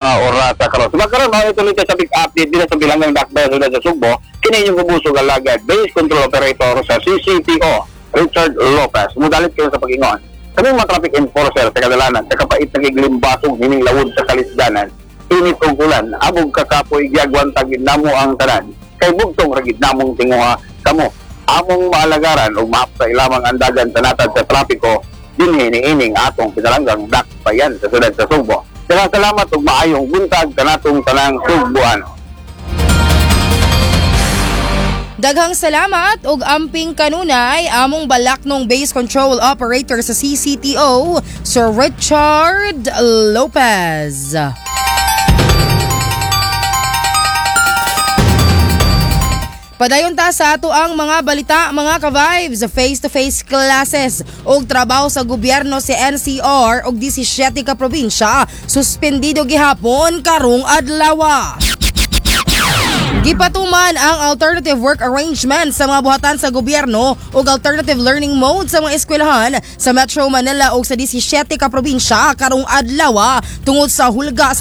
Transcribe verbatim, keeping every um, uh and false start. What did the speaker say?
Oras karon. So karon mao tuloy sa big update dito sa bilanggang dakbayan sa Sugbo. Kini inyong kabusog alagad base control operator sa C C T O, Richard Lopez. Mudalit kayo sa pag-ingon. Kami mga traffic enforcer sa kadalanan, sa kapait nagiglimbasong hining lawod sa kalisdanan. Init og ulan, abog kakapoy, giagwan tagid namo ang tanan. Kay bugtong ragid namong tinguha kamo. Among maalagaran ug maapsay lamang ang dagan sa natad sa trapiko dinhi niining atong pinalanggang dakbayan sa syudad sa Sugbo. Daghang salamat ug maayong buntag kanatong tanang Sugboano. Daghang salamat ug amping kanunay, among balaknong base control operator sa C C T O, Sir Richard Lopez. Padayon ta sa ato ang mga balita, mga ka-vibes. Face-to-face classes ug trabaho sa gobyerno si N C R ug labing-siyam ka probinsya suspendido gihapon karong adlaw. Gipatuman ang alternative work arrangement sa mga buhatan sa gobyerno ug alternative learning mode sa mga eskwelahan sa Metro Manila ug sa labing-siyam ka probinsya karong adlaw tungod sa hulga sa